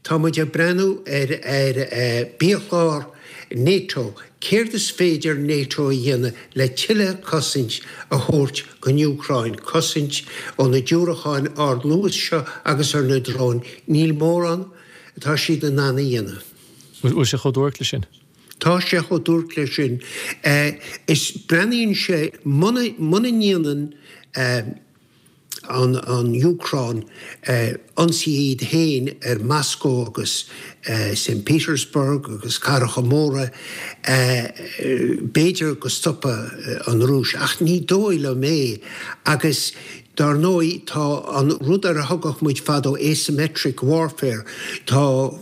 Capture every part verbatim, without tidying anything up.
Tá muid ag breathnú ar ar biachlár NATO, céard is féidir NATO a dhéanamh le tuilleadh cosaint a thabhairt don Úcráin, cosaint ó na diúracáin ardluais seo agus ar na dróin. Níl mórán atá siad in ann a dhéanamh. Bhfuil sé chomh duairc leis sin? Tá sé chomh duairc leis sin. Is breathnaíonn sé muna muna ndéanann an an Úcráin ionsaí iad féin ar Moscow agus Saint Petersburg agus cathracha móra, b'fhéidir go stopfaidh an Rúis, ach ní dóigh liom é. Agus dar ndóigh tá an rud ar a thugadh muid fadó asymmetric warfare, tá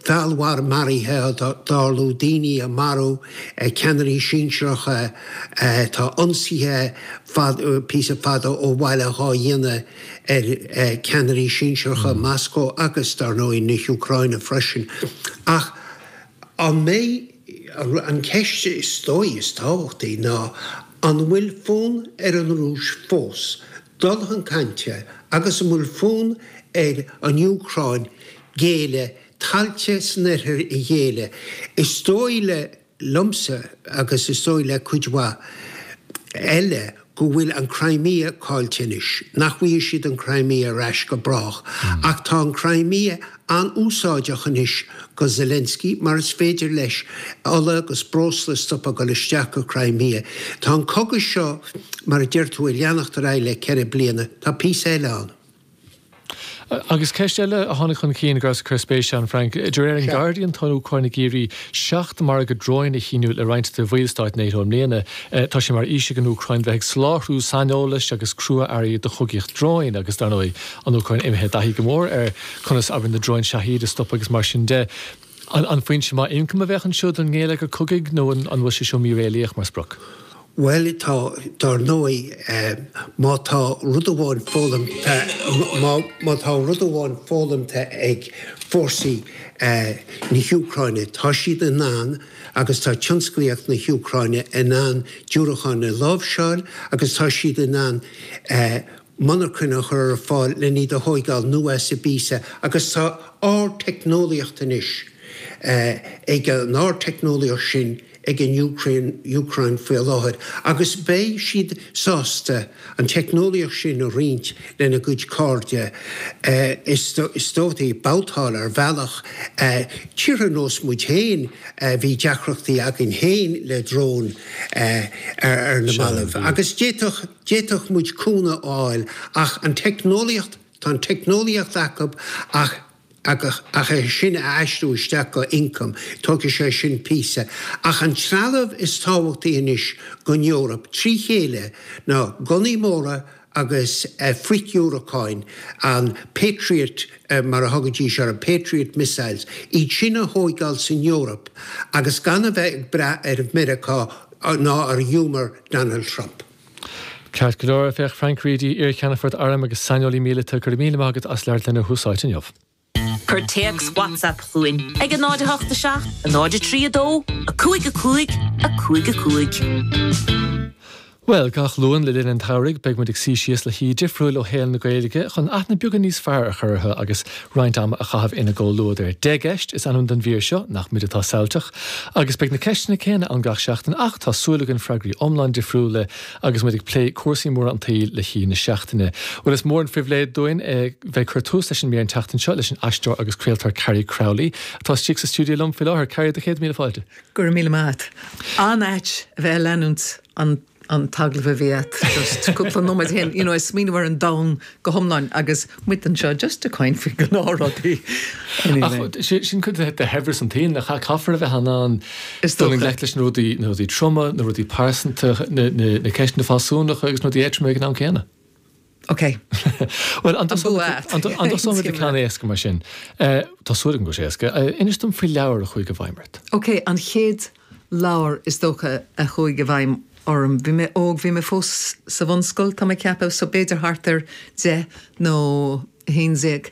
feallmharaithe ag tarlú, daoine á marú, ceannairí sinsearacha, tá ionsaithe píosa fada ó bhaile dhá dhéanamh ar ceannairí sinsearacha Moscow agus dar ndóigh na hÚcráine freisin. Ach an mbeidh, an ceist is dóigh is tábhachtaí ná an bhfuil fonn ar an Rúis fós dul chun cainte agus an bhfuil fonn ar an Úcráin géilleadh tailte san oirthear a ghéilleadh. Is dóigh le liomsa agus is dóigh le cuid mhaith eile go bhfuil an Crimea caillte anois, nach bhfaighidh siad an Crimea ar ais go brách. Ach tá an Crimea an-úsáideach anois go Zelensky mar is féidir leis ola agus breosla a stopadh ag dul isteach go Crimea. Tá an cogadh seo, mar a deir tú, ag leanacht ar aghaidh le ceithre bliana. Tá píosa eile ann. Agus ceist eile a tháinig chun cinn go raibh cur spéise ann, Frank, de réir an Guardian tá an Úcráin ag iarraidh seacht margadh dróin a shíniú le roinnt de bhallstáit NATO i mbliana. Tá sé mar fhís ag an Úcráin bheith ag soláthar saineolais agus crua-earraí do chogaíocht dróin agus dar ndóigh an Úcráin imithe i dtaithí go mór ar conas abair na dróin Shahed a stop agus mar sin de. An, an foinse maith ioncaim a bheadh anseo don ngeilleagar cogaidh nó an, an bhfuil sé seo míréalaíoch mar sprioc? Bhuel tá, dar ndóigh, má tá rud amháin foghlamtha, má tá rud amháin foghlamtha ag fórsaí na hÚcráine, tá siad in ann agus tá tionsclaíocht na hÚcráine in ann diúracáin a láimhseáil agus tá siad in ann monarchana a chur ar fáil le iad a thóigeáil anuas i bpíosa agus tá ardteicneolaíocht anois ag an ardteicneolaíocht sin ag an Úcráin Úcráin faoi láthair agus beidh siad sásta an teicneolaíocht sin a roinnt lena gcuid cairde is dóigh babhtáil ar bhealach tíortha nós muid féin bhí deacrachtaí againn féin le dróin ar na mallaibh agus d'fhéadfadh d'fhéadfadh muid cúnamh a fháil ach an teicneolaíocht tá an teicneolaíocht acu ach ach ach é sin a aistriú isteach go ioncam, tógfaidh sé sin píosa. Ach an trealamh is tábhachtaí anois don Eoraip trí chéile ná gunnaí móra agus frithdhiúracáin, an Patriot mar a thugaidís ar an Patriot missiles, iad sin a thóigeáil san Eoraip agus gan a bheith ag brath ar Mheiriceá ná ar ghiúmar Donald Trump. Ceart go leor féach Frank Reidy, iar-cheannfort airm agus saineolaí míleata go raibh míle maith agat as labhairt linn ar Thús Áite inniu. Cuir téacs WhatsApp chugainn ag a náid a hocht a seacht, a náid a trí a dó, a cúig a cúig, a cúig a cúig. Well, gach Luan le linn an tsamhraidh beidh muid ag suí síos le haoi difriúil ó shaol na Gaeilge chun aithne beagán níos fearr a chur orthu agus roinnt ama a chaitheamh ina gcomhluadar. Deich gceist is ainm don mhír seo nach muid atá samhailteach, agus beidh na ceisteanna céanna ann gach seachtain ach tá súil againn freagraí iomlán difriúla agus muid ag plé cúrsaí móra an tsaoil le haoi na seachtaine. Well is mór an phribhléid dúinn bheith cur tús leis an mír an tseachtain seo leis an aisteoir agus craoltóir Carrie Crowley atá istigh sa stiúideo liom faoi láthair Carrie do chéad míle fáilte. Go raibh míle maith. An-ait a bheith leanúint an an t-agallamh a bhí agat just cúpla nóiméad ó shin you know, smaoineamh ar an domhan go hiomlán agus muid anseo just ag caint faoi ghnáthrudaí. Sin cuid de shaibhreas an tsaoil nach caithfear a bheith in ann Is dul i dócha. ngleic leis na rudaí na rudaí troma, na rudaí pearsanta, na, na, na ceisteanna fealsúnacha agus na rudaí éadroma ag an am céanna. Ok. Well an An bua agat. an dtosóimid le ceann éasca mar sin. Eh, Tá súil agam go bhfuil sé éasca. Eh, Inis dom faoi leabhar a chuaigh i bhfeidhm ort. Ok, an chéad leabhar is dócha a chuaigh i bhfeidhm orm. Bhí mé óg, bhí mé fós sa bhunscoil tá mé ag ceapadh so b'fhéidir thart ar deich nó haon déag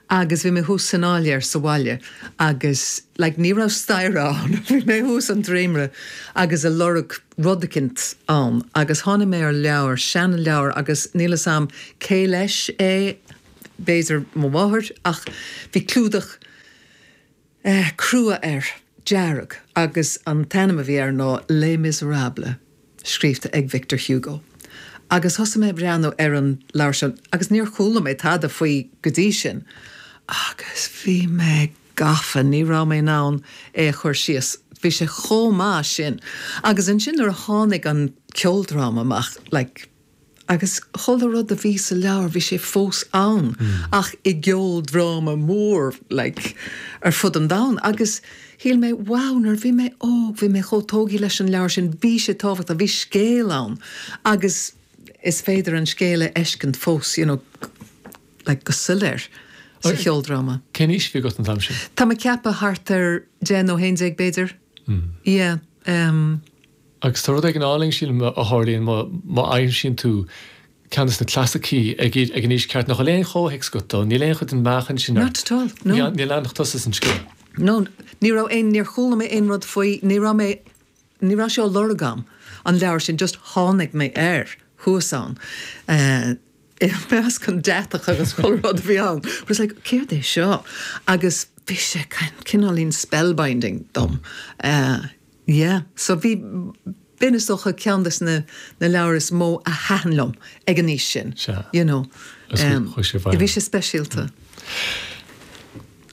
agus bhí mé thuas san áiléar sa bhaile agus like, ní raibh staighre ann bhí mé thuas an dréimire agus ag lorg rud éicint ann agus tháinig mé ar leabhar seanleabhar agus níl a fhios agam cé leis é b'fhéidir mo mháthair ach bhí clúdach eh, crua air, dearg, agus an t-ainm a bhí air ná Les Misérables, scríofa ag Victor Hugo. Agus thosaigh mé breathnú ar an leabhar sin, agus níor chuala mé tada faoi go dtí sin. Agus bhí mé gafa, ní raibh mé in ann é a chur síos. Bhí sé chomh maith sin. Agus ansin nuair a tháinig an ceoldráma amach, like, agus chuile rud a bhí sa leabhar bhí sé fós ann mm. ach i gceoldráma mór like, ar fud an domhain. Agus shíl mé wow nuair bhí mé óg, bhí mé chomh tógtha leis an leabhar sin bhí sé tábhachtach, bhí scéal ann. Agus is féidir an scéal a fheiscint fós you know, like, go soiléir sa cheoldráma. Cén aois a bhí agat an t-am sin? Tá mé ag ceapadh thart ar deich nó haon déag b'fhéidir. Mm. Yeah, um, Agus tá rud éigin álainn sílim a tharlaíonn má aimsíonn tú ceann de na clasaicí ag ag an aois cheart nach bhfuil aon chomhthéacs agat dó, níl aon chuid den mheáchan sin Not at all, no. Níl leanach tusa san scéal. No, ní raibh aon níor chuala mé aon rud faoi, ní raibh mé ní raibh sé á lorg agam an leabhar sin just tháinig mé air thuas ann. Uh, i measc an deatach agus chuile rud a bhí ann. But it's like, céard é seo? Agus bhí sé cineáilín spellbinding dom. Uh, yeah, so bhí b'in is dócha ceann des na na leabhair is mó a thaitin liom ag an aois sin. You know. Um, bhí sé speisialta.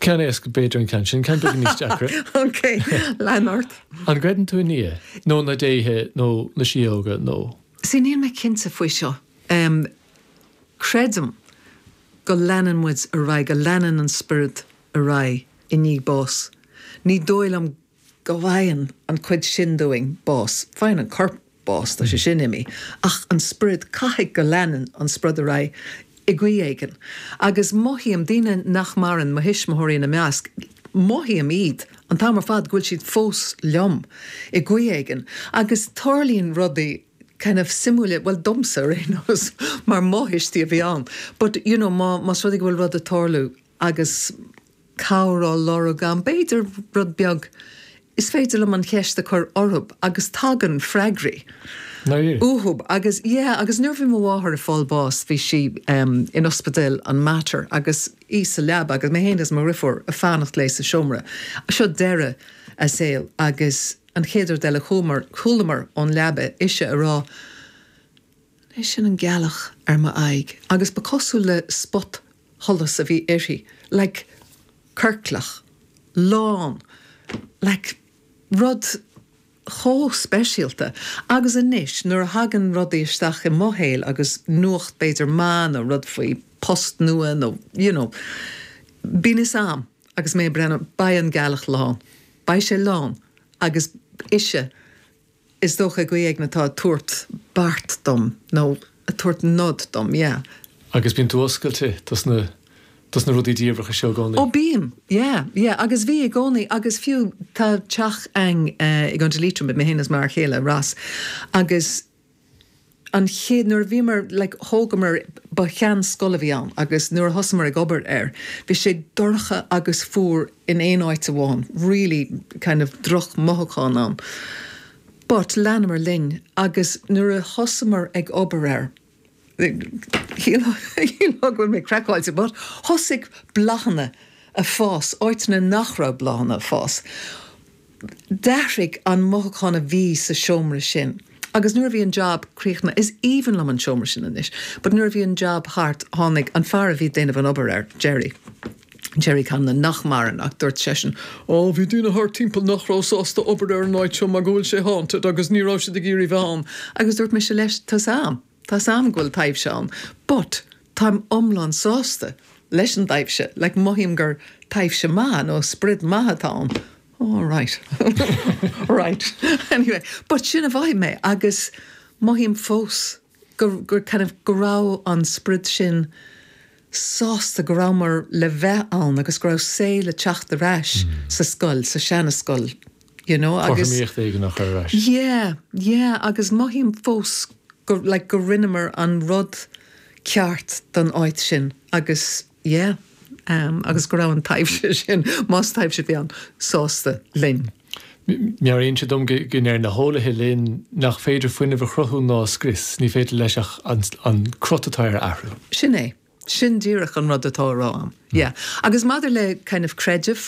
Ceann éasca b'fhéidir an ceann sin ceann beag níos deacra. Ok, lean ort. An gcreideann tú i nDia nó na déithe nó na síóga nó. Sí níl mé cinnte faoi seo. Um, creidim go leanann muid ar aghaidh go leanann an spiorad ar aghaidh i ndiaidh bás. Ní dóigh liom go bhfaigheann an chuid sin dúinn bás, faigheann an corp bás tá sé sin imithe, ach an spiorad caithfidh go leanann an spiorad ar aghaidh i gcaoi éigin. Agus mothaím daoine nach maireann mo thuismitheoirí ina measc, mothaím iad an t-am ar fad go bhfuil siad fós liom i gcaoi éigin. Agus tarlaíonn rudaí kind of suimiúla well domsa ar aon nós mar mo thuistí a bhí ann. But you know, má más rud é go bhfuil rud ag tarlú agus cabhair á lorg agam, b'fhéidir rud beag is féidir liom an cheist a chur orthu agus tagann freagraí. Uathu agus yeah, agus nuair bhí mo mháthair ag fáil bás bhí sí um, in ospidéal an Mater agus í sa leaba agus mé féin is mo dheirfiúr ag fanacht léi sa seomra. Seo deireadh a saoil agus an chéad rud eile chuamar chualamar ón leaba ise ag rá É sin an gealach ar m'aghaidh agus ba cosúil le spot sholas a bhí uirthi, like ciorclach, lán, like rud chomh speisialta. Agus anois nuair a thagann rudaí isteach i mo shaol agus nuacht b'fhéidir maith nó rud faoi post nua nó you know, bíonn fhios a'm agus mé breathnú beidh an gealach lán, beidh sé lán agus ise is dócha go éigin atá ag tabhairt beart dom nó ag tabhairt nod dom, yeah. Agus bíonn tú oscailte dos na dos na rudaí diamhracha seo i gcónaí. Ó bím, yeah, yeah, agus bhí i gcónaí agus fiú tá teach againn uh, i gContae Liatroma mé féin is m'fhear céile Ross agus an chéad nuair a bhíomar like, thógamar ba sheanscoil a bhí ann agus nuair a thosaíomar ag obair air, bhí sé dorcha agus fuar in aon áit amháin, really kind of drochmhothúchán ann. But leanamar linn agus nuair a thosaíomar ag obair air, go bhfuil mé craiceáilte, but thosaigh bláthanna ag fás, áiteanna nach raibh bláthanna ag fás. D'athraigh an mothúchán a bhí sa seomra sin. Agus nuair a bhí an job críochnaithe is aoibhinn liom an seomra sin anois, but nuair a bhí an job thart tháinig an fear a bhí ag déanamh an obair air, Jerry. Jerry Conlon nach maireann ach dúirt seisean, Ó bhí daoine thart timpeall nach raibh sásta obair ar an áit seo mar go bhfuil sé haunted agus ní raibh siad ag iarraidh bheith ann. Agus dúirt mise leis tá am, Tá am go bhfuil taibhse ann, but táim iomlán sásta leis an taibhse, like mothaím gur taibhse maith nó spiorad maith atá ann. Oh, right. right. Anyway, but sin a mhothaigh mé agus mothaím fós gur, gur kind of go raibh an spiorad sin sásta go rabhamar le bheith ann agus go raibh saol le teacht ar ais mm. sa scoil, sa seanscoil. You know, agus éigin a chur ar ais. Yeah, yeah, agus mothaím fós go, like, go rinneamar an rud ceart don áit sin agus yeah, um, agus go raibh an taibhse sin más taibhse a bhí ann sásta linn. Meabhraíonn sé dom go ndeir na heolaithe linn nach féidir fuinneamh a chruthú ná scrios, ní féidir leis ach an, an crot atá air a athrú. Sin é. Sin díreach an rud atá á rá. Yeah. Agus maidir le kind of creideamh